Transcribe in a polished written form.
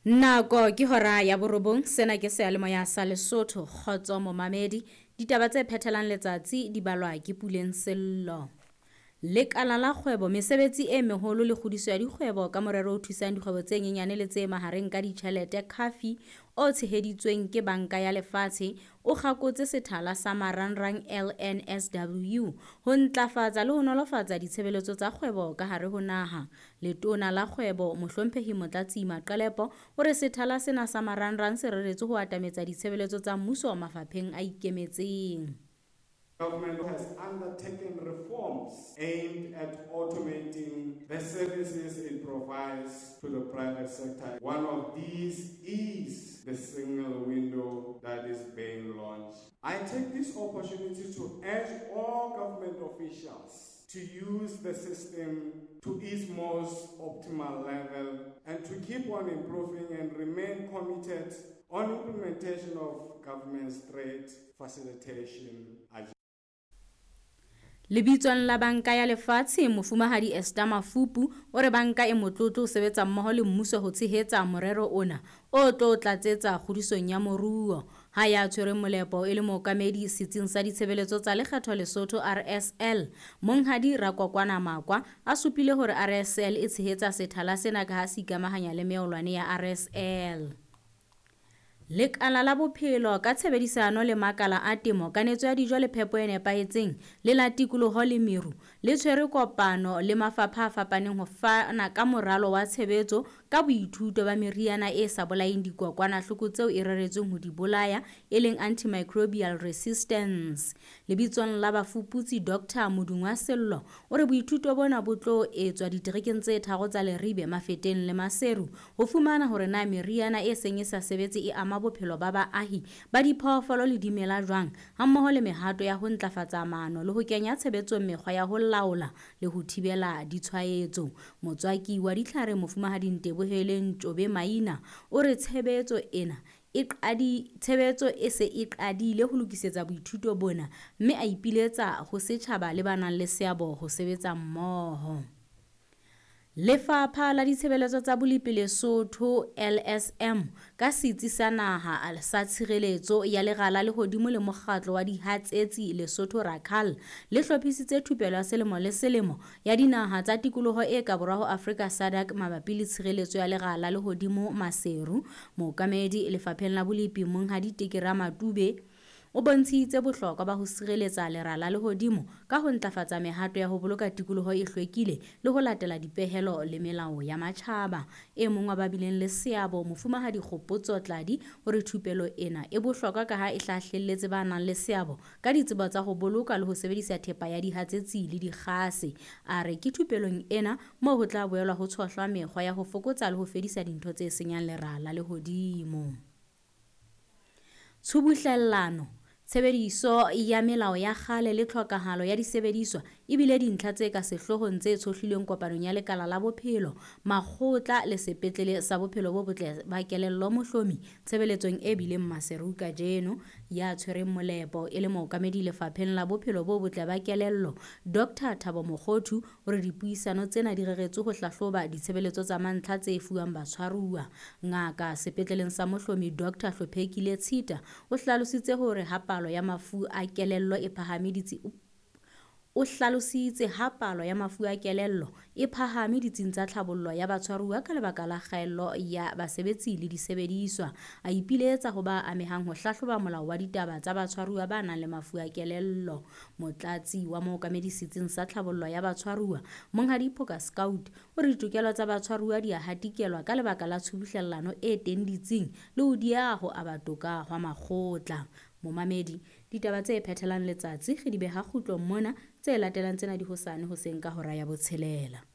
Nako ke hora ya borobong, sena ke seyalemoya sa Lesotho. Kgotso momamedi, ditaba tse phethelang letsatsi di balwa ke Puleng Sello. Lekala la kgwebo, mesebetsi e meholo le kgodiso ya dikgwebo ka morero o thusang dikgwebo tse nyenyane le tse mahareng ka ditjhelete CAFI o tsheheditsweng ke Banka ya Lefatshe o kgakotse sethala sa marangrang LNSW ho ntlafatsa le ho nolofatsa ditshebeletso tsa kgwebo ka hare ho naha. Letona la Kgwebo, Mohlomphehi Motlatsi Maqelepo, o re sethala sena sa marangrang se reretswe ho atametsa ditshebeletso tsa mmuso mafapheng a ikemetseng. Government has undertaken reforms aimed at automating the services it provides to the private sector. One of these is the single window that is being launched. I take this opportunity to urge all government officials to use the system to its most optimal level and to keep on improving and remain committed on implementation of government's trade facilitation agenda. Lebitsong la Banka ya Lefatshe, Mofumahadi Esther Mafupu o re banka e motlotlo ho sebetsa mmoho le mmuso ho tshehetsa morero ona o tlo tlatsetsa kgodisong ya moruo. Ha ya tshwereng molepo e le mookamedi Setsing sa Ditshebeletso tsa Lekgetho Lesotho, RSL, Monghadi Rakokwana Makwa a supile hore RSL e tshehetsa sethala sena ka ha se ikamahanya le meolwane ya RSL. Lekala la Bophelo ka tshebedisano le makala a temo, kanetso ya dijo le phepo e nepahetseng le la tikoloho le meru le tshwere kopano le mafapha a fapaneng ho fana ka moralo wa tshebetso ka boithuto ba meriana e sa bolayeng dikokwanahloko tseo e reretsweng ho di bolaya e leng antimicrobial resistance. Lebitsong la bafuputsi Doctor Modungwa Sello o re boithuto bona bo tlo etswa diterekeng tse tharo tsa Leribe, Mafeteng le Maseru ho fumana hore na meriana e seng e sa sebetse e ama bophelo ba baahi ba diphoofolo le dimela jwang, hammoho le mehato ya ho ntlafatsa maano le ho kenya tshebetsong mekgwa ya ho laola le ho thibela ditshwaetso. Motswaki wa ditlhare Mofumahadi Nteboheleng Ntjobe Maina o re tshebetso ena e qadi tshebetso e se e qadile ho lokisetsa boithuto bona mme a ipiletsa ho setjhaba le ba nang le seabo ho sebetsa mmoho. Lefapha la Ditshebeletso tsa Bolepi Lesotho, LSM, ka Setsi sa Naha sa Tshireletso ya Lera la Lehodimo le Mokgatlo wa Dihatsetsi Lesotho, RACAL, le hlophisitse thupelo ya selemo le selemo ya dinaha tsa tikoloho e ka borwa ho Afrika SADC mabapi le tshireletso ya lera la lehodimo Maseru. Mookamedi lefapheng la bolepi Monghadi Teke Ramatube o bontshitse bohlokwa ba ho sireletsa lera la lehodimo ka ho ntlafatsa mehato ya ho boloka tikoloho e hlwekile le ho latela dipehelo le melao ya matjhaba. E mong wa ba bileng le seabo, Mofumahadi Kgopotso Tladi, o re thupelo ena e bohlokwa ka ha e hlahlelletse ba nang le seabo ka ditsebo tsa ho boloka le ho sebedisa thepa ya dihatsetsi le dikgase. A re ke thupelong ena moo ho tla boelwa ho tshohlwa mekgwa ya ho fokotsa le ho fedisa dintho tse senyang lera la lehodimo. Tshubuhlellano, tshebediso ya melao ya kgale le tlhokahalo ya disebediswa e bile dintlha tse ka sehloohong tse tshohlilweng kopanong ya Lekala la Bophelo, Makgotla le Sepetlele sa Bophelo bo Botle ba Kelello Mohlomi tshebeletsong e bileng Maseru kajeno. Ya tshwereng molepo e le mookamedi lefapheng la Bophelo bo Botle ba Kelello, Doctor Thabo Mokgothu, o re dipuisano tsena di reretswe ho hlahloba ditshebeletso tsa mantlha tse fuwang batshwaruwa. Ngaka sepetleleng sa Mohlomi Doctor Hlophekile Tshita o hlalositse hore ha palo ya mafu a kelello e phahame ditsi o hlalositse ha palo ya mafu a kelello e phahame ditsing tsa tlhabollo ya batshwaruwa ka lebaka la kgaello ya basebetsi le disebediswa. A ipiletsa ho ba amehang ho hlahloba molao wa ditaba tsa batshwaruwa ba nang le mafu a kelello. Motlatsi wa mookamedi setsing sa tlhabollo ya batshwaruwa, Monghadi Phoka Scout, o re ditokelo tsa batshwaruwa di a hatikelwa ka lebaka la tshubuhlellano e teng ditsing le ho dieha ho aba toka hwa makgotla. Momamedi, ditaba tse phethelang letsatsi re di beha kgutlong mona, tse latelang tsena di hosane hoseng ka hora ya botshelela.